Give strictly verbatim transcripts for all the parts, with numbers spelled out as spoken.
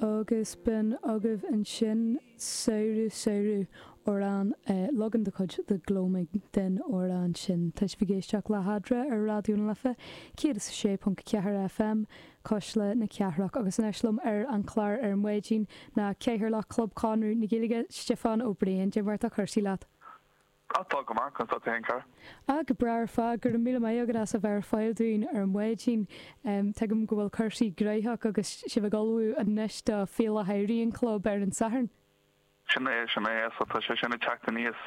Agus b'in agaibh ansin Samhradh Samhradh amhrán leagan de chuid The Gloaming den amhrán sin. Tá sibh ag éisteacht le hEadra ar Raidió na Life céad is a sé ponc ceathair FM, Cuisle na Cathrach agus anois liom ar an chlár ar maidin ná Cathaoirleach Chlub Chonradh na Gaeilge, Stiofán Ó Briain. Cad é mar atá cúrsaí leat? Tá go maith conas tá tú féin cara. Ah go breá ar fad go raibh míle maith agat as a bheith ar fáil dúinn ar maidin. Tuigim go bhfuil cúrsaí gnóthach agus sibh ag ullmhú anois do Féile Shamhraidh an Chlub ar an Satharn. Sin é sin é so tá sé sin ag teacht aníos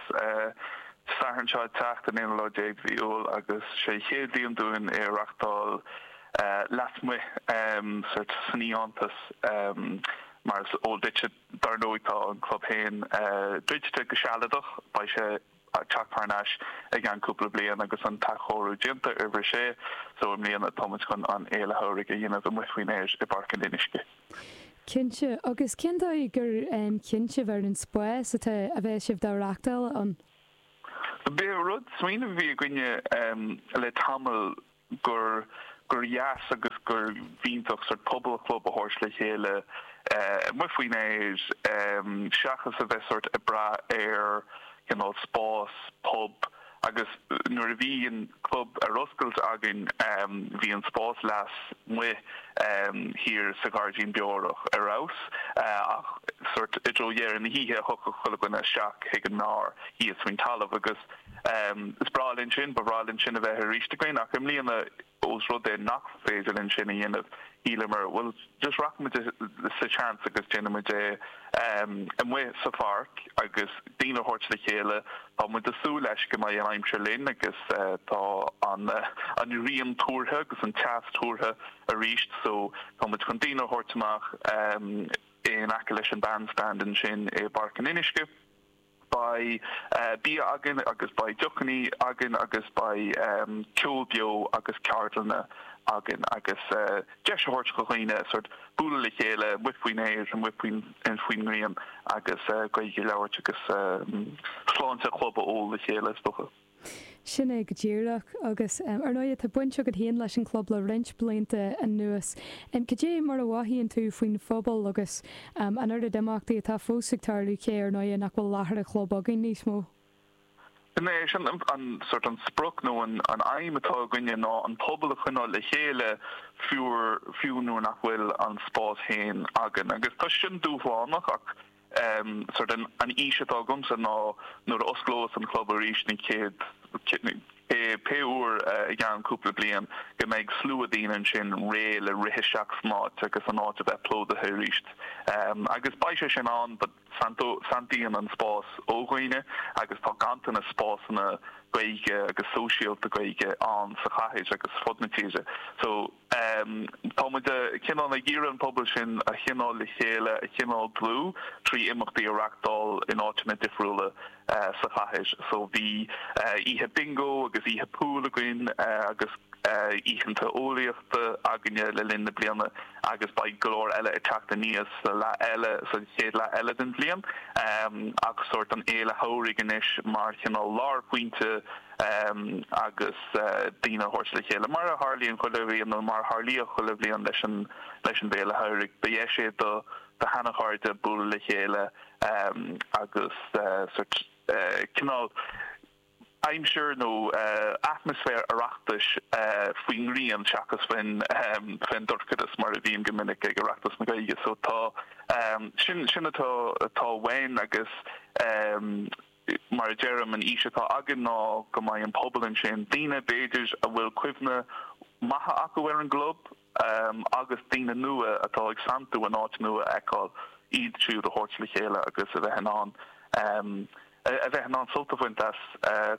Satharn seo ag teacht an aonú lá déag de mhí Iúil agus sé chéad bhliain dúinn é a reáchtáil lasmuigh sort san fhiántas mar is eol duit dar ndóigh tá an club féin druidte go sealadach beidh sé ag teacht thar n-ais i gceann cúpla bliain agus an t-athchóiriú déanta ar bhris sé so i mbliana táimid chun an fhéile shamhraidh a dhéanamh amuigh faoin aer i bPáirc an Fhionnuisce. Cinnte agus cén dóigh gur chinn sibh ar an spás atá a bheidh sibh dá reáchtáil ann. B'é rud smaoineamh a bhí againne le tamall gur gur dheas agus gur bh'iontach sort pobal club a thabhairt le chéile amuigh faoin aer seachas a bheith sort ag brath ar cineál spás pub agus nuair a bhí an club ar oscailt againn bhí an spás lasmuigh thiar sa ghairdín beorach ar fheabhas ach sort i dtreo dheireadh na hoíche thiocfadh chuile dhuine isteach chuig an mbeár thíos faoin talamh agus is breá linn sin ba bhreá linn sin a bheith arís againn ach i mbliana ós rud é nach féidir linn sin a dhéanamh shíleamar well just rachaimid sa seans agus déanfaimid é amuigh sa pháirc agus daoine a thabhairt le chéile tá muid ag súil leis go mbeidh an aimsir linn agus tá an an ghrian tuartha agus an teas tuartha arís so tá muid chun daoine a thabhairt amach in aice leis an bandstand ansin i bPáirc an Fhionnuisce. Beidh bia againn agus beidh deochanna againn agus beidh ceol beo agus ceardlanna againn agus deis a thabhairt do dhaoine sort bualadh le chéile amuigh faoin aer amuigh faoin faoin ngrian agus Gaeilge a labhairt agus sláinte chlub a ól le chéile is dócha. Sin é go díreach agus ar ndóigh tá baint agat féin leis an chlub le roinnt blianta anuas. Cad é mar a mhothaíonn tú faoin phobal agus an oiread imeachtaí atá fós ag tarlú cé ar ndóigh nach bhfuil láthair an chlub againn níos mó. Sin é sin an sort an sprioc nó an an aidhm atá againne ná an pobal a choinneáil le chéile fiú fiú nuair nach bhfuil an spás féin againn agus tá sin dúshlánach ach um, sort an, an fhís atá agamsa ná nuair a osclós an club arís ní chéad pé uair i gceann cúpla bliain go mbeidh slua daoine ansin réidh le rith isteach san áit agus an áit a bheith plódaithe arís. Um, agus beidh sé sin ann but santaíonn an spás ó dhaoine agus tá ganntanas spásanna Gaeilge agus sóisialta Gaeilge ann sa chathair agus fud na tíre. So um, tá muid cineál ag iarraidh an pobal sin a choinneáil le chéile a choinneáil dlúth trí imeachtaí a reáchtáil in áiteanna difriúla uh, sa chathair. So bhí uh, oíche bingo agus oíche pool againn uh, agus oícheanta eolaíochta againne le linn na bliana agus beidh go leor eile ag teacht aníos sa leath eile sa chéad leath eile den bhliain um, agus sort an fhéile shamhraidh anois mar chineál lárphointe um, agus uh, daoine a thabhairt le chéile mar a tharlaíonn chuile bhliain nó mar a tharlaíodh chuile bhliain leis an leis an bhféile shamhraidh. Ba dheis é do do sheanchairde bualadh le chéile um, agus uh, sort uh, cineál aimsir nó uh, atmaisféar Oireachtais uh, faoin ngrian seachas faoin um, faoin dorchadas mar a bhíonn go minic ag Oireachtas na Gaeilge so tá um, sin sin atá atá uainn agus um, mar a deirim an fhís atá againn ná go mbeidh an pobal ansin daoine b'fhéidir a bhfuil cuimhne maithe acu ar an gclub um, agus daoine nua atá ag santú an áit nua a fheiceáil iad siúd a thabhairt le chéile agus a bheith in ann um, a bheith in ann sult a bhaint as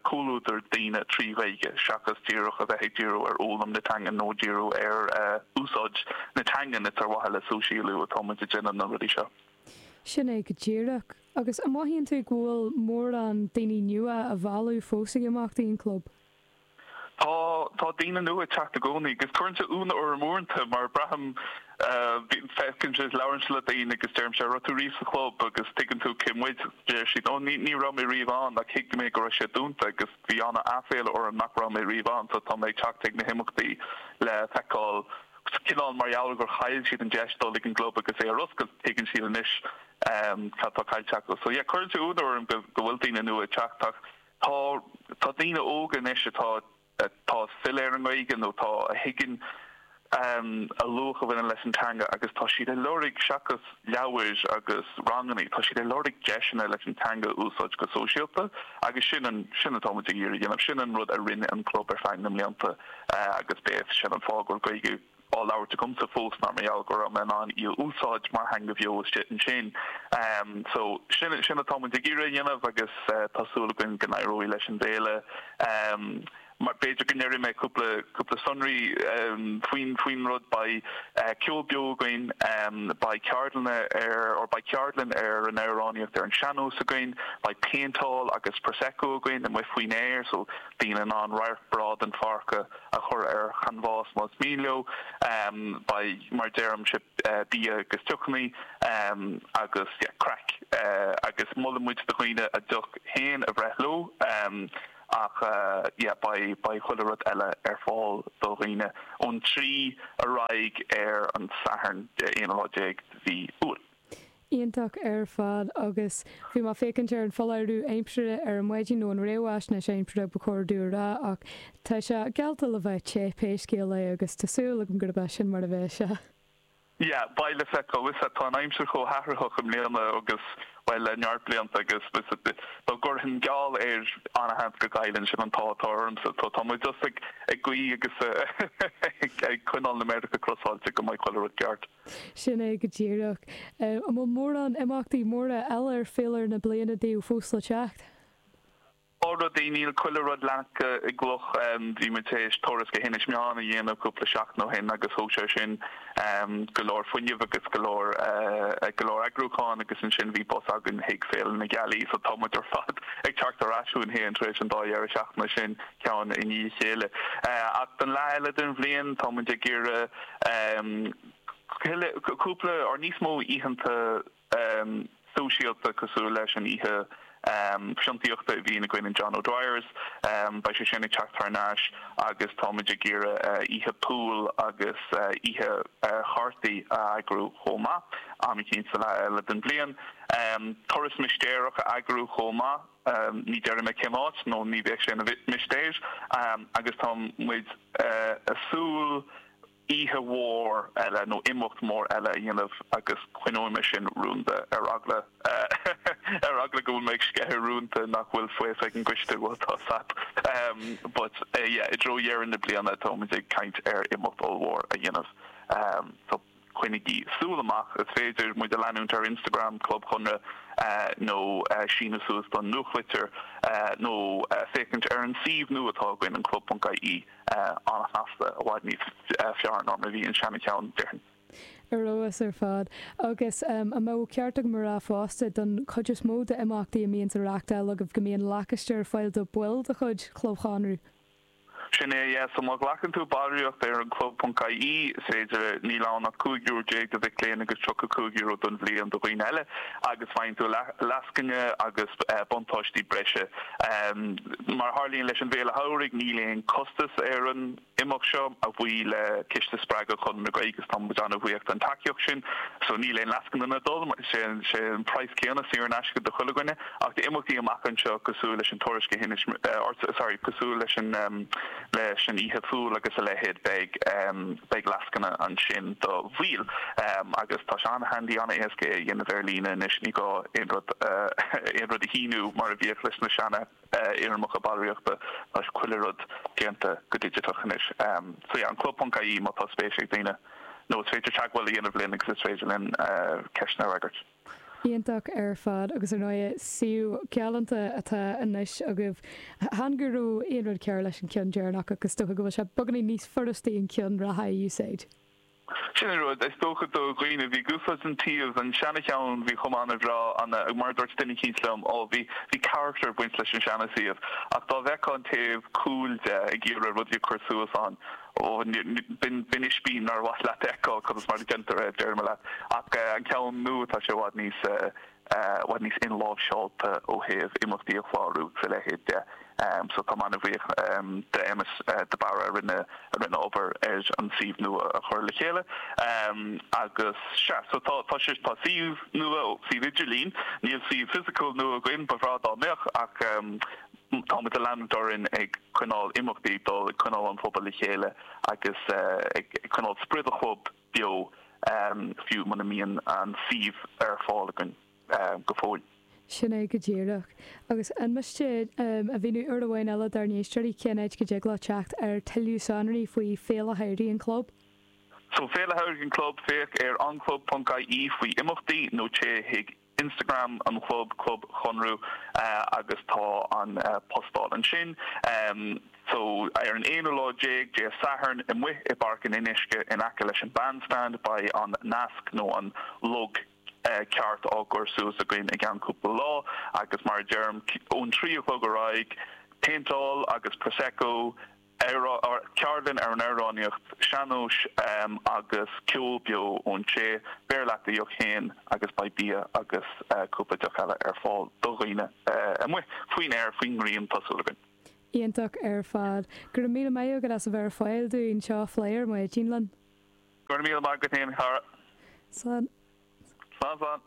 comhluadar daoine trí Ghaeilge seachas díreach a bheith ag díriú ar fhoghlaim na teanga nó díriú ar uh, úsáid na teanga is ar mhaithe le sóisialú atá muid ag déanamh na rudaí seo. Sin é go díreach agus an mothaíonn tú go bhfuil mórán daoine nua á mhealladh fós ag imeachtaí an chlub. Tá tá daoine nua ag teacht i gcónaí agus cuireann sé ionadh orm uaireanta mar braithim feiceann sé labhraíonn le daoine agus deirim an raibh tú riamh sa chlub agus tuigeann tú cé muid deir siad ó ní ní raibh mé riamh ann ach thuig mé go raibh sé dúnta agus bhí an-aiféala orm nach raibh mé riamh ann so tá mé ag teacht ag na himeachtaí le feiceáil Cineál mar gheall gur chaill siad an deis dul ag an gclub agus é ar oscailt, tuigeann siad anois cad tá caillte acu. So yeah, cuireann sé ionadh orm go go bhfuil daoine nua ag teacht ach tá tá daoine óga anois atá atá filleadh ar an nGaeilge nó tá a thuigeann a luach a bhaineann leis an teanga agus tá siad ag lorg seachas leabhair agus ranganna, tá siad ag lorg deiseanna leis an teanga a úsáid go sóisialta agus sin an sin atá muid ag iarraidh a dhéanamh, sin an rud a rinne an club ar feadh na mblianta agus b'é sin an fáth go bhfuil Gaeilge á labhairt agamsa fós ná mar gheall go raibh mé in ann í a úsáid mar theanga bheo istigh ansin. So sin sin atá muid ag iarraidh a dhéanamh agus tá súil againn go n-éireoidh leis an bhféile. Mar b'fhéidir go ndéarfaidh mé cúpla cúpla sonraí faoin faoin rud, beidh ceol beo againn, beidh ceardlanna ar or beidh ceardlann ar an amhránaíocht ar an sean-nós againn, beidh péinteáil agus prosecco againn amuigh faoin aer so daoine in ann radharc breá den pháirc a a chur ar chanbhás más mian leo, beidh mar deirimse bia agus deochanna agus yeah craic agus molann muid do dhaoine a deoch féin a bhreith leo. Ach yeah beidh beidh chuile rud eile ar fáil do dhaoine ón trí ar aghaidh ar an Satharn aonú lá déag de mhí Iúil. Iontach ar fad agus bhí mé ag féachaint ar an foláireamh aimsire ar an maidin nó an réamhaisnéis aimsire ba chóir domh a rá ach tá sé geallta le bheith te pé scéal é agus tá súil agam gurb é sin mar a bheidh sé. Yeah, beidh le feiceáil. Is ea, tá an aimsir chomh hathraitheach i mbliana agus, bhuel, le neart blianta agus dá gcuirfinn geall air an-sheans go gcaillfinn, sin an t-ádh atá ormsa. Tá, tá muid just ag, ag guí agus ag coinneáil na méaracha crosáilte go mbeidh chuile rud ceart. Sin é go díreach. An bhfuil mórán imeachtaí móra eile ar féilire na bliana daoibh fós le teacht? Tá rudaí, níl chuile rud leagtha i gcloch. Bhí muid tar éis turas go hInis Meáin a dhéanamh cúpla seachtain ó shin agus thóg sé sin go leor fuinnimh agus go leor go leor eagrúcháin agus ansin bhí bus againn chuig Féile na Gealaí so tá muid ar fad ag teacht ar ais chugainn féin tar éis an dá dheireadh seachtaine sin ceann i ndiaidh a chéile. Ach don leath eile den bhliain tá muid ag iarraidh cúpla or níos mó oícheanta sóisialta cosúil leis an oíche fiontaíochta a bhíonn againn in John O'Dwyer's. Beidh sé sin ag teacht thar n-ais agus táimid ag iarraidh oíche pool agus oíche chártaí a eagrú chomh maith, am eicínt sa leath eile den bhliain. Turas mistéireach a eagrú chomh maith, ní déarfaidh mé cén áit nó ní bheadh sé ina mhistéir, agus tá muid ag súil oíche mhór eile nó imeacht mór eile a dhéanamh agus coinneoidh mé sin rúnda ar eagla ar eagla go bhfuil mé ag sceitheadh rúnta nach bhfuil faofa ag an gcoiste, bhuel tá fhios agat. But yeah, i dtreo dheireadh na bliana tá muid ag caint ar imeacht ollmhór a dhéanamh so coinnigí súil amach. Is féidir muid a leanúint ar Instagram, Club Chonradh, nó síniú suas don nuachtlitir nó féachaint ar an suíomh nua atá againn, an club ponc ie. An-shnasta, i bhfad níos fearr ná mar a bhí an seana-cheann, déarfainn. Ar fheabhas ar fad. Agus an mbeadh ceart agam a rá fosta, don chuid is mó d'imeachtaí a mbíonns á reáchtáil agaibh, go mbíonn lacáiste ar fáil do bhaill de chuid Chlub Chonradh? Sin é, yeah. So má ghlacann tú ballraíocht ar an club ponc ie, is féidir, níl ann ach cúig euro déag do mhic léinn agus tríocha cúig euro don bhliain do dhaoine eile, agus faigheann tú lascaine agus buntáistí breise. Mar a tharlaíonn leis an bhFéile Shamhraidh, níl aon costas ar an imeacht seo, a bhuí le Ciste Spreagadh Chonradh na Gaeilge agus tá muid an-bhuíoch don tacaíocht sin. So níl aon lascaine ag dul, sé an praghas céanna saor in aisce do chuile dhuine. Ach d'imeachtaí amach anseo cosúil leis an turas go hInis, sorry, cosúil leis an leis an oíche phúil agus a leithéid, beidh beidh lascaine ansin do bhaill. Agus tá sé an-handy, an-éasca é a dhéanamh ar líne anois, ní gá aon rud aon rud a shíniú mar a bhíodh leis na seana fhoirmeacha ballraíochta, tá chuile rud déanta go digiteach anois. So yeah, an club ponc ie má tá spéis ag daoine, nó is féidir teagmháil a dhéanamh linn agus is féidir linn ceisteanna a fhreagairt. Iontach ar fad agus ar ndóigh suíomh galánta atá anois agaibh. Chan go raibh aon rud cearr leis an ceann deireanach ach is dócha go bhfuil sé beagáinín níos furastaí an ceann reatha a úsáid. Sin an rud, is dócha do dhaoine a bhí ag úsáid an tsuíomh, an seana-cheann, bhí chomh an-bhreá, ana, mar a dúirt duine eicínt liom, ó bhí, bhí character ag baint leis an seana-suíomh, ach dá bhfeicfeá an taobh cúil de ag iarraidh rudaí a chur suas ann, Ó b'in b'in ispín nár mhaith leat a fheiceáil conas mar a déantar é, deirim leat. Ach an ceann nua tá sé i bhfad níos i bhfad níos inláimhseáilte ó thaobh imeachtaí a chlárú agus a leithéid de. So tá mé an-bhuíoch de Emmet de Barra a rinne a rinne obair ar an suíomh nua a chur le chéile. Agus sea, so tá tá sé tá suíomh nua, suíomh idirlín, níl suíomh fisiciúil nua againn, ba bhreá dá mbeadh ach táimid ag leanúint orainn ag coinneáil imeachtaí ag dul, ag coinneáil an phobal le chéile agus ag coinneáil sprid an chlub beo fiú muna mbíonn an suíomh ar fáil againn go fóill. Sin é go díreach. Agus an miste a mhíniú uair amháin eile dár n-éisteoirí cén áit go dtig leo teacht ar tuilleadh sonraí faoi Féile Shamhraidh an Chlub? So Féile Shamhraidh an Chlub, féach ar anclub.ie faoi imeachtaí nó téigh chuig Instagram an chlub, Club Chonradh, agus tá an postáil ansin. So ar an aonú lá déag, Dé Sathairn, amuigh i bPáirc an Fhionnuisce in aice leis an Bandstand, beidh an nasc nó an log ceart á gcur suas againn i gceann cúpla lá agus mar a deirim, ón trí a chlog ar aghaidh, péinteáil agus prosecco, ceardlann ar an amhránaíocht sean-nóis agus ceol beo ón té. Beir leat do dheoch féin agus beidh bia agus cúpla deoch eile ar fáil do dhaoine amuigh faoin aer, faoin ngrian, tá súil againn. Iontach ar fad. Go raibh míle maith agat as a bheith ar fáil dúinn anseo a phlé ar maidin linn. Go raibh míle maith agat féin, a chara. Slán. Slán, slán.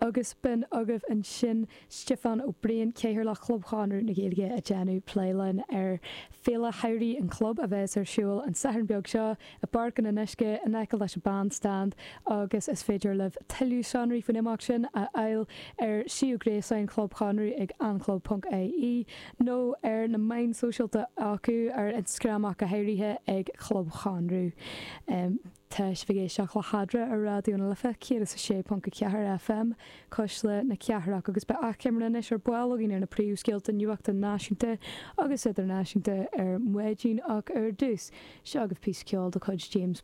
Agus b'in agaibh ansin Stiofán Ó Briain, Cathaoirleach Chlub Chonradh na Gaeilge ag déanamh plé linn ar Féile Shamhraidh an Chlub a bheas ar siúl an Satharn beag seo i bPáirc an Fhionnuisce in aice leis an Bandstand agus is féidir libh tuilleadh sonraí faoin imeacht sin a fháil ar shuíomh gréasáin Chlub Chonradh ag anclub.ie nó ar na meáin sóisialta acu ar Instagram ach go háirithe ag Club Chonradh. Tá sibh ag éisteacht le hEadra ar Raidió na Life céad is a sé ponc a ceathair FM, Cuisle na Cathrach agus beidh achoimre anois ar ball againn ar na príomhscéalta nuachta náisiúnta agus idirnáisiúnta ar maidin ach ar dtús, seo agaibh píosa ceoil de chuid James